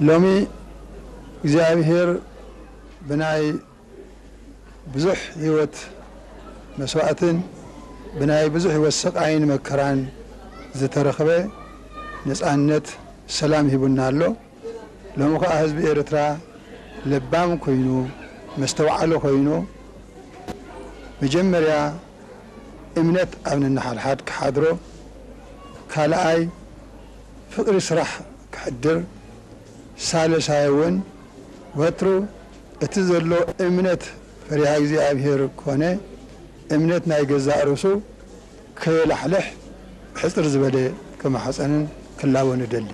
ሎሚ እግዚኣብሔር ብናይ ብዙሕ ህይወት መስዋእትን ብናይ ብዙሕ ህይወት ስቓይን መከራን ዝተረኽበ ነፃነት፣ ሰላም ሂቡና ኣሎ። ሎሚ ኸዓ ህዝቢ ኤርትራ ለባም ኮይኑ፣ መስተውዓሊ ኮይኑ፣ መጀመርያ እምነት ኣብ ነንሓድሓድ ክሓድሮ፣ ካልኣይ ፍቕሪ ስራሕ ክሕድር፣ ሳልሳይ እውን ወትሩ እቲ ዘሎ እምነት ፈሪሃ እግዚኣብሔር ኮነ እምነት ናይ ገዛእ ርእሱ ከየላሕልሕ ሕጽር ዝበለ ክማሕጸንን ክላቦን እደሊ።